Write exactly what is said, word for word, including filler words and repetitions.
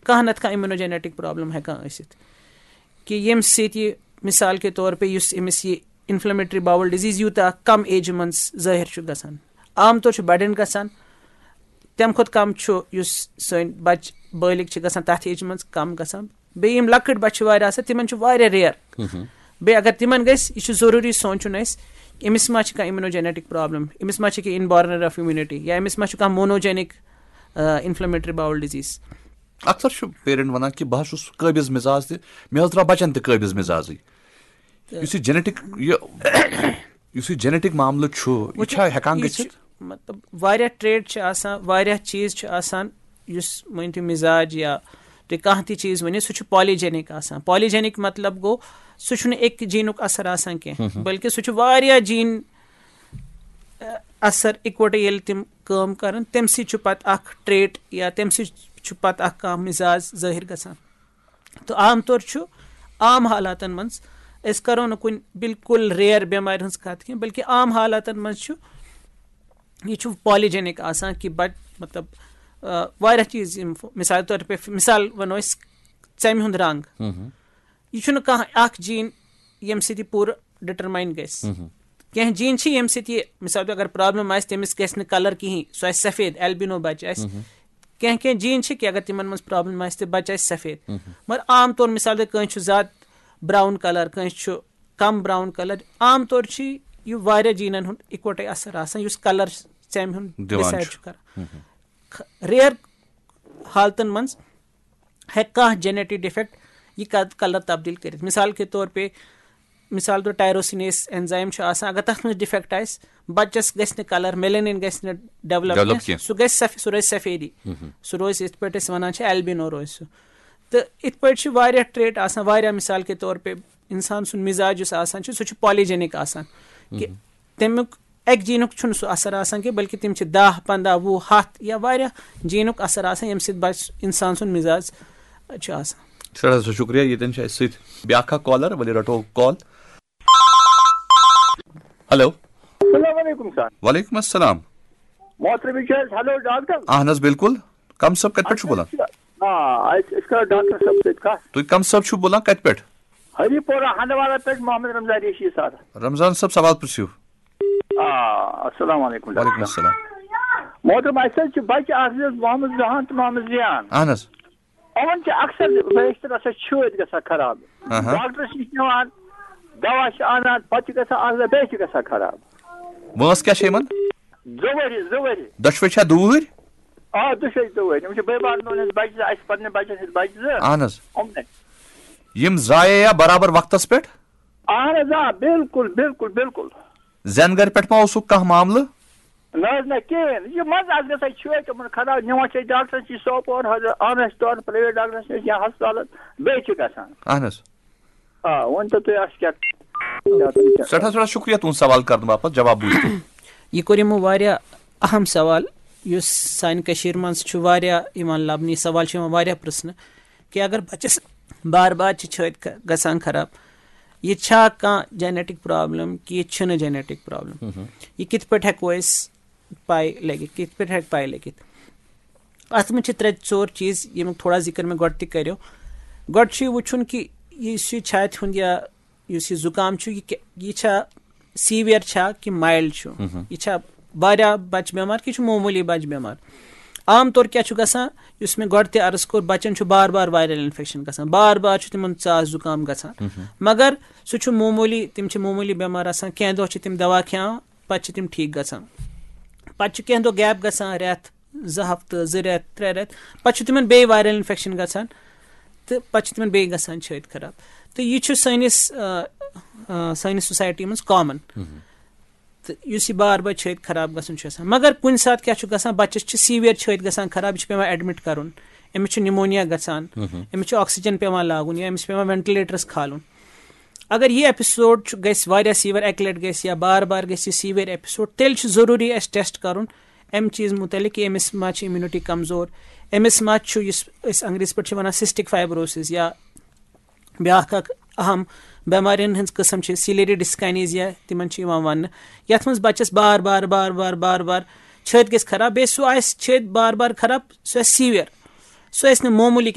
کانٛہہ نتہٕ کانٛہہ اِمیونوجینیٹک پرابلم ہٮ۪کان ٲسِتھ، کہِ ییٚمہِ سۭتۍ یہِ، مثال کے طور پہ، یُس أمِس یہِ انفلیمیٹری باول ڈِزیٖز یوٗتاہ کم ایجہِ منٛز ظٲہِر چھُ گژھان۔ عام طور چھُ بڑٮ۪ن گژھان، تَمہِ کھۄتہٕ کم چھُ یُس سٲنۍ بچہٕ بالغ چھِ گژھان، تَتھ ایجہِ منٛز کم گژھان۔ بیٚیہِ یِم لۄکٕٹۍ بچہٕ چھِ واریاہ آسان، تِمن چھُ واریاہ ریئر۔ بیٚیہِ اگر تِمن گژھِ، یہِ چھُ ضروٗری سونٛچُن اَسہِ، أمِس ما چھِ کانٛہہ اِمیونوجینیٹک پرابلم، أمِس ما چھِ کینٛہہ انبارن آف امیونٹی، یا أمِس ما چھُ کانٛہہ مونوجینک انفلیمیٹری باول ڈِزیٖز۔ اکثر چھُ پیرنٹ ونان کہِ بہٕ حظ چھُس قٲبض مزاج تہٕ مےٚ حظ درٛاو بچن تہِ قٲبض مزازٕے۔ یُس یہِ جینیٹک، یہِ یُس یہِ جینیٹک معاملہٕ چھُ، یہِ وٕچھِو، چھا ہٮ۪کان یہِ گٔژھِتھ؟ چھُ، مطلب، واریاہ ٹریٹ چھِ آسان، واریہ چیٖز چھِ آسان، یُس مٲنۍ تو مزاج یا تُہۍ کانٛہہ تہِ چیٖز ؤنِو، سُہ چھُ پالیجینک آسان۔ پالیجینک مطلب گوٚو، سُہ چھُنہٕ اَکہِ جینُک اثر آسان کینٛہہ، بلکہِ سُہ چھُ واریاہ جین اثر اِکوٹہٕ ییٚلہِ تِم کٲم کرن، تَمہِ سۭتۍ چھُ پتہٕ اکھ ٹریٹ یا تَمہِ سۭتۍ چھُ پتہٕ اکھ کانٛہہ مزاج ظٲہِر گژھان۔ تہٕ عام طور چھُ عام حالاتن منٛز، أسۍ کرو نہٕ کُنہِ بالکل ریئر بٮ۪مارِ ہٕنٛز کتھ کینٛہہ، بلکہِ عام حالاتن منٛز چھُ، یہِ چھُ پالیجینک آسان کہِ بچ مطلب، آ، واریاہ چیٖز، یِم مثال طور پہ، مثال ونو أسۍ، ژمہِ ہُنٛد رنگ۔ یہِ چھُنہٕ کانٛہہ اکھ جین ییٚمہِ سۭتۍ یہِ پوٗرٕ ڈٹرماین گژھِ۔ کینٛہہ جین چھِ ییٚمہِ سۭتۍ یہِ، مثال طور، اگر پرابلم آسہِ، تٔمِس گژھِ نہٕ کلر کِہیٖنۍ، سُہ آسہِ سفید، البینو بچہِ آسہِ۔ کینٛہہ کینٛہہ جین چھِ کہِ اگر تِمن منٛز پرابلم آسہِ تہٕ بچہِ آسہِ سفید۔ مگر عام طور، مثال طور، کٲنٛسہِ چھُ زیادٕ براؤن کلر، کٲنٛسہِ چھُ کم براؤن کلر۔ عام طور چھِ یہِ واریاہ جینن ہُنٛد اِکوٹے اثر آسان، یُس کلر ژمہِ ہُنٛد دِوان ڈِسایڈ چھُ۔ چھُ کران۔ ریئر حالتن منٛز ہیٚکہِ کانٛہہ جینیٹک ڈیفیکٹ یہِ کلر تبدیل کٔرِتھ۔ مثال کے طور پہ، مثال طور ٹائروسینیز انزائم چھُ آسان، اگر تتھ منٛز ڈیفیکٹ آسہِ، بچس گژھِ نہٕ کلر، میلینن گژھِ نہٕ ڈیولپ ڈیولپ کینٛہہ، کینٛہہ۔ سُہ گژھِ سف-، سُہ روزِ سفیدی۔ سُہ روزِ یِتھ پٲٹھۍ أسۍ ونان چھِ البینو روزِ سُہ۔ تہٕ یِتھ پٲٹھۍ چھِ واریاہ ٹریٹ آسان، واریاہ، مثال کے طور پہ انسان سُنٛد مزاج یُس آسان چھُ، سُہ چھُ پالیجینک آسان، کہِ تمیُک اکہِ جینُک چھُنہٕ سُہ اثر آسان کینٛہہ، بلکہِ تِم چھِ دَہ، پنٛداہ، وُہ، ہَتھ یا واریاہ جینُک اثر آسان، ییٚمہِ سۭتۍ بچ-، انسان سُنٛد مزاج چھُ آسان۔ سٮ۪ٹھاہ سٮ۪ٹھاہ شُکریہ، ییٚتٮ۪ن چھِ اَسہِ سۭتۍ بیٛاکھ اکھ کالر، ؤلِو رٹو کال۔ ہیلو۔ السلام علیکم سر۔ وعلیکم السلام۔ محترم، یہِ چھُ حظ ہیلو ڈاکٹر؟ اہن حظ، بالکل۔ کم صٲب، کتہِ پٮ۪ٹھ چھُو بولان؟ آ، أسۍ أسۍ کرو ڈاکٹر صٲب سۭتۍ کتھ۔ تُہۍ کم صٲب چھِو بولان، کتہِ پٮ۪ٹھ؟ ہری پورہ ہندوارہ پٮ۪ٹھ محمد رمضان ریشی سر۔ رمضان صٲب، سوال پرژھِو۔ آ، السلام علیکم ڈاکٹر وعلیکم صٲب۔ السلام۔ محترم، اَسہِ حظ چھِ بچہِ اکھ زٕ حظ، محمد زہان تہٕ محمد زیان۔ اہن حظ۔ یِمن چھِ اکثر بیشتر آسان چھٲتۍ گژھان خراب۔ اہا۔ ڈاکٹرس نِش نِوان، دوا چھِ انان، پتہٕ چھِ گژھان اکھ زٕ، بیٚیہِ چھِ گژھان خراب۔ وٲنٛس کیٛاہ چھےٚ یِمن؟ زٕ ؤری، زٕ ؤری۔ دۄشوے چھا دوٗرۍ؟ آ، دۄشوے زٕ ؤری۔ یِم چھِ بٲے بارٕنۍ ہٕنٛدۍ بچہِ زٕ، اَسہِ پننہِ بچن ہٕنٛدۍ بچہِ زٕ۔ اہن حظ۔ یِمنٕے۔ یِم زایے یا برابر وقتس پٮ۪ٹھ؟ اہن حظ، آ، بالکل، بالکل، بالکل۔ زینہٕ گرِ پٮ۪ٹھ ما اوسُکھ کانٛہہ معاملہٕ؟ نہ حظ، نہ، کِہیٖنۍ۔ یہِ منٛزٕ آسہٕ گژھان چھٲتۍ یِمن خراب، نِوان چھِ أسۍ ڈاکٹرس نِش سوپور، حضرت، اَنان چھِ تورٕ پرٛایویٹ ڈاکٹرس نِش یا ہسپتالس، بیٚیہِ چھِ گژھان۔ اہن حظ۔ آ، ؤنۍ تو تُہۍ اَسہِ کیٛاہ؟ سٮ۪ٹھاہ سٮ۪ٹھاہ شُکریہ تُہُنٛد سوال کرنہٕ باپتھ، جواب بوٗزِتھ۔ یہِ کوٚر یِمو واریاہ اہم سوال، یُس سانہِ کٔشیٖرِ منٛز چھُ واریاہ یِوان لبنہٕ۔ یہِ سوال چھُ یِوان واریاہ پرژھنہٕ کہِ اگر بچس بار بار چھِ چھٲتۍ ک-، گژھان خراب، یہِ چھا کانٛہہ جینیٹک پرابلم کہِ یہِ چھُنہٕ جینیٹک پرابلم؟ یہِ کِتھ پٲٹھۍ ہٮ۪کو أسۍ پاے لٔگِتھ؟ کِتھ پٲٹھۍ ہٮ۪کہِ پاے لٔگِتھ؟ اتھ منٛز چھِ ترٛےٚ ژور چیٖز، ییٚمیُک تھوڑا ذِکر مےٚ گۄڈٕ تہِ کریو۔ گۄڈٕ چھُ یہِ وٕچھُن کہِ یُس یہِ چھاتہِ ہُنٛد یا یُس یہِ زُکام چھُ، یہِ کہِ-، یہِ چھا سیٖوِیر چھا کہِ مایلڈ چھُ؟ یہِ چھا واریاہ بچہِ بٮ۪مار کہِ یہِ چھُ معموٗلی بچہِ بٮ۪مار؟ عام طور کیٛاہ چھُ گژھان، یُس مےٚ گۄڈٕ تہِ عرض کوٚر، بچن چھُ بار بار وایرل انفیکشن گژھان، بار بار چھُ تِمن ژاس زُکام گژھان۔ مگر سُہ چھُ معموٗلی، تِم چھِ معموٗلی بٮ۪مار آسان، کینٛہہ دۄہ چھِ تِم دوا کھٮ۪وان، پتہٕ چھِ تِم ٹھیٖک گژھان۔ پتہٕ چھِ کینٛہہ دۄہ گیپ گژھان، رٮ۪تھ، زٕ ہفتہٕ، زٕ رٮ۪تھ، ترٛےٚ رٮ۪تھ، پتہٕ چھُ تِمن بیٚیہِ وایرل انفیکشن گژھان تہٕ پتہٕ چھِ تِمن بیٚیہِ گژھان چھٲتۍ خراب۔ تہٕ یہِ چھُ سٲنِس، آ، آ، سٲنِس سوسایٹی منٛز کامن۔ تہٕ یُس یہِ بار بار چھٲتۍ خراب گژھُن چھُ آسان، مگر کُنہِ ساتہٕ کیٛاہ چھُ گژھان، بچس چھِ سیٖوِیر چھٲتۍ گژھان خراب، یہِ چھُ پٮ۪وان ایڈمٹ کرُن، أمِس چھُ نمونیا گژھان، أمِس چھُ آکسیجن پٮ۪وان لاگُن یا أمِس چھُ پٮ۪وان وینٹلیٹرس کھالُن۔ اگر یہِ ایپیسوڈ چھُ، گژھِ واریاہ سیٖوِیر، اکہِ لٹہِ گژھِ یا بار بار گژھِ یہِ سیٖوِیر ایپیسوڈ، تیٚلہِ چھُ ضروٗری اَسہِ ٹیسٹ کرُن امہِ چیٖز مُتعلق کہِ أمِس ما چھِ امیونٹی کمزور، أمِس ما چھُ، یُس أسۍ انگریزی پٲٹھۍ چھِ ونان سسٹک فائبروسس، یا بیٛاکھ اکھ اہم بٮ۪مارٮ۪ن ہٕنٛز قٕسم چھِ سیلیری ڈسکائنیزیا، تِمن چھِ یِوان وننہٕ، یتھ منٛز بچس بار بار بار بار بار بار چھٲتۍ گژھِ خراب، بیٚیہِ سُہ آسہِ چھٲتۍ بار بار خراب، سُہ آسہِ سیٖوِیر، سُہ آسہِ نہٕ معموٗلی